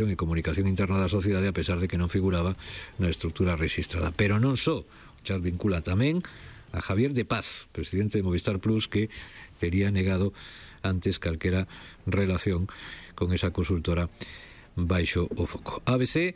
e comunicación interna da sociedade, a pesar de que non figuraba na estrutura rexistrada. Pero non só, o chat vincula tamén a Javier de Paz, presidente de Movistar Plus, que tería negado antes calquera relación con esa consultora baixo o foco. ABC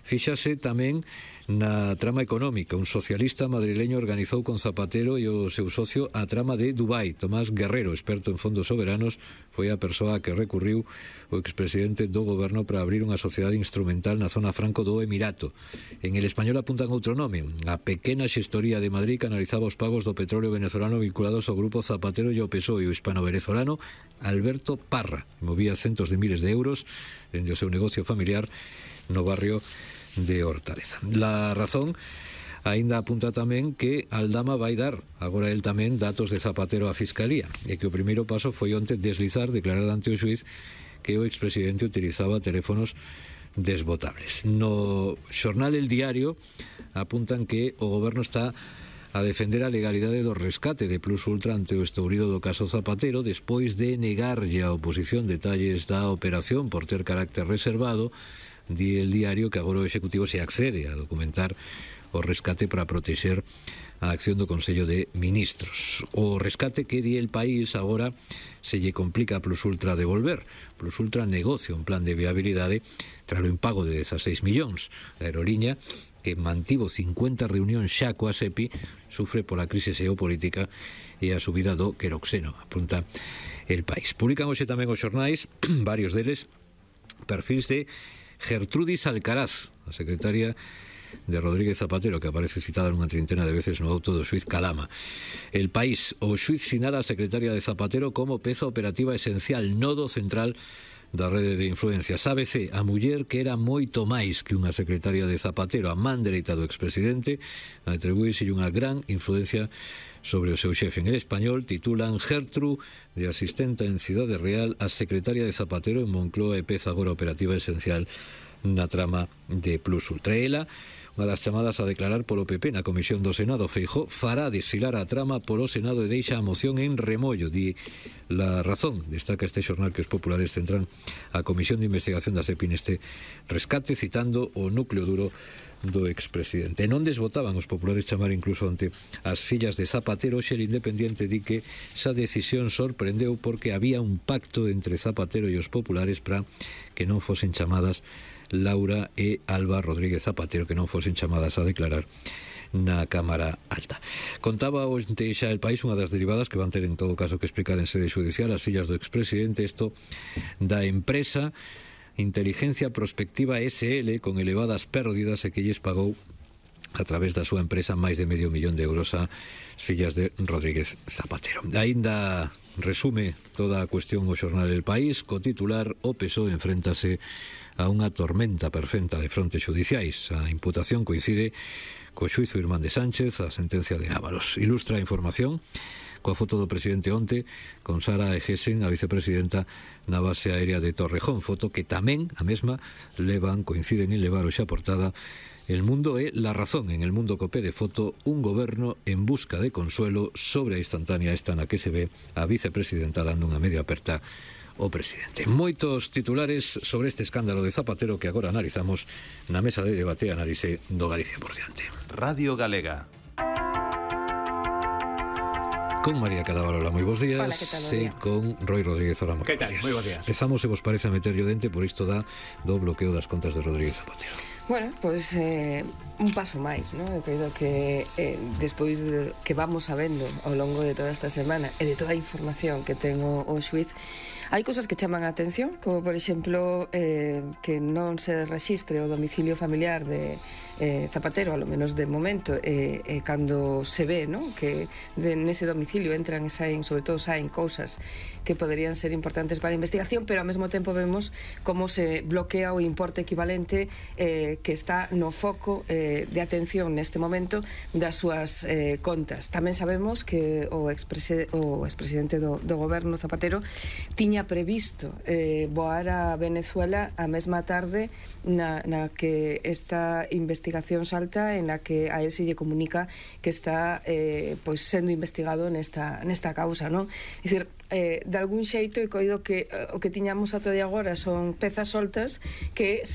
fíxase tamén na trama económica. Un socialista madrileño organizou con Zapatero e o seu socio a trama de Dubai. Tomás Guerrero, experto en fondos soberanos, foi a persoa que recurriu o expresidente do goberno para abrir unha sociedade instrumental na zona franco do Emirato. En El Español apuntan outro nome, a pequena xestoría de Madrid que analizaba os pagos do petróleo venezolano vinculados ao grupo Zapatero e ao PSOE. O hispano-venezolano Alberto Parra movía centos de miles de euros dende o seu negocio familiar no barrio de Hortaleza. La Razón aínda apunta tamén que Aldama vai dar agora el tamén datos de Zapatero á Fiscalía e que o primeiro paso foi onte deslizar, declarar ante o xuiz que o expresidente utilizaba teléfonos desbotables. No xornal El Diario apuntan que o goberno está a defender a legalidade do rescate de Plus Ultra ante o estourido do caso Zapatero despois de negarlle a oposición detalles da operación por ter carácter reservado. Di El Diario que agora o Executivo se accede a documentar o rescate para protexer a acción do Consello de Ministros. O rescate que di El País agora se lle complica a Plus Ultra devolver. Plus Ultra negocia un plan de viabilidade tras o impago de 16 millóns. A aeroliña, que mantivo 50 reunións xa coa SEPI, sufre pola crise xeopolítica e a subida do queroxeno, apunta El País. Publican hoxe tamén os xornais, varios deles, perfils de Gertrudis Alcaraz, a secretaria de Rodríguez Zapatero, que aparece citada nunha trintena de veces no auto do xuiz Calama. El País, o xuiz sinala a secretaria de Zapatero como peza operativa esencial, nodo central da rede de influencias. ABC, a muller que era moito máis que unha secretaria de Zapatero, a man dereita do expresidente, atribúese unha gran influencia sobre o seu xefe. En El Español titulan Gertru de asistente en Cidade Real a secretaria de Zapatero en Moncloa e peza agora operativa esencial na trama de Plus Ultra. Ela, unha das chamadas a declarar polo PP na Comisión do Senado. Feijóo fará desfilar a trama polo Senado e deixa a moción en remollo. Di La Razón, destaca este xornal que os populares centran a Comisión de Investigación da SEPI neste rescate, citando o núcleo duro do expresidente. Non desbotaban os populares chamar incluso ante as fillas de Zapatero. Xe el Independiente di que esa decisión sorprendeu porque había un pacto entre Zapatero e os populares para que non fosen chamadas Laura e Alba Rodríguez Zapatero, que non fosen chamadas a declarar na Cámara Alta. Contaba onte xa El País unha das derivadas que van ter en todo caso que explicar en sede judicial as fillas do expresidente, isto da empresa Inteligencia Prospectiva SL con elevadas pérdidas e que lles pagou a través da súa empresa máis de medio millón de euros a fillas de Rodríguez Zapatero. Aínda resume toda a cuestión o xornal El País co titular: o PSOE enfréntase a unha tormenta perfecta de frontes judiciais. A imputación coincide co xuízo Irmán de Sánchez, a sentencia de Ábalos. Ilustra a información coa foto do presidente onte con Sara Egesen, a vicepresidenta, na base aérea de Torrejón, foto que tamén, a mesma, coinciden en levar hoxe a portada El Mundo e La Razón. En El Mundo copé de foto un goberno en busca de consuelo sobre a instantánea esta na que se ve a vicepresidenta dando unha media aperta ao presidente. Moitos titulares sobre este escándalo de Zapatero que agora analizamos na mesa de debate e análise do Galicia por diante. Radio Galega. Con María Cadaval, moi bons días. Hola, que tal, e con Roy Rodríguez, hola, moi bons días. Moi bons días. Empezamos, se vos parece, a meterlle o dente por isto do bloqueo das contas de Rodríguez Zapatero. Bueno, pois un paso máis, non? Eu creo que despois de que vamos sabendo ao longo de toda esta semana e de toda a información que ten o xuiz, hai cousas que chaman a atención, como por exemplo que non se rexistre o domicilio familiar de Zapatero, a lo menos de momento, cando se ve, non? Que nese domicilio entran e saen, sobre todo saen cousas que poderían ser importantes para a investigación, pero ao mesmo tempo vemos como se bloquea o importe equivalente que está no foco de atención neste momento das súas contas. Tamén sabemos que o expresidente do goberno Zapatero tiña previsto voar a Venezuela a mesma tarde na que esta investigación salta, en la que a él se lle comunica que está pois sendo investigado nesta causa, non? É dicir, de algún xeito he coido que o que tiñamos ata de agora son pezas soltas que